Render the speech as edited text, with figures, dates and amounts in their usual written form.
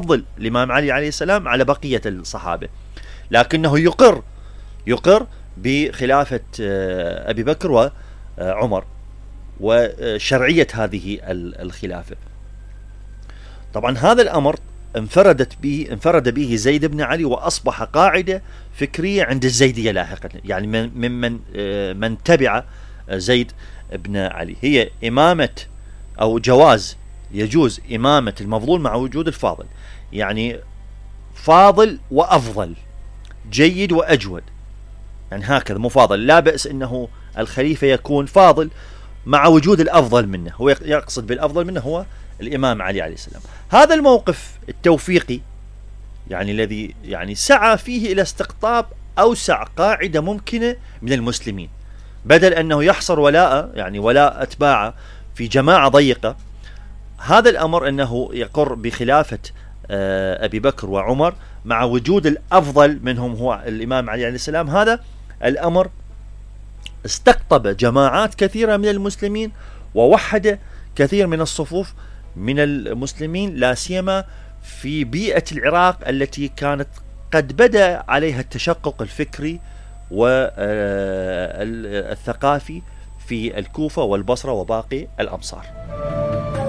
ويفضل الإمام علي عليه السلام على بقية الصحابة، لكنه يقر بخلافة أبي بكر وعمر وشرعية هذه الخلافة. طبعا هذا الأمر انفرد به زيد بن علي، وأصبح قاعدة فكرية عند الزيدية لاحقا، يعني من تبع زيد بن علي، هي إمامة أو يجوز إمامة المفضول مع وجود الفاضل، يعني فاضل وأفضل، جيد وأجود، يعني هكذا مفاضل، لا بأس أنه الخليفة يكون فاضل مع وجود الأفضل منه، هو يقصد بالأفضل منه هو الإمام علي عليه السلام. هذا الموقف التوفيقي يعني الذي يعني سعى فيه إلى استقطاب أوسع قاعدة ممكنة من المسلمين، بدل أنه يحصر ولاء أتباعه في جماعة ضيقة. هذا الأمر أنه يقر بخلافة أبي بكر وعمر مع وجود الأفضل منهم هو الإمام علي عليه السلام. هذا الأمر استقطب جماعات كثيرة من المسلمين، ووحد كثير من الصفوف من المسلمين، لا سيما في بيئة العراق التي كانت قد بدأ عليها التشقق الفكري والثقافي في الكوفة والبصرة وباقي الأمصار.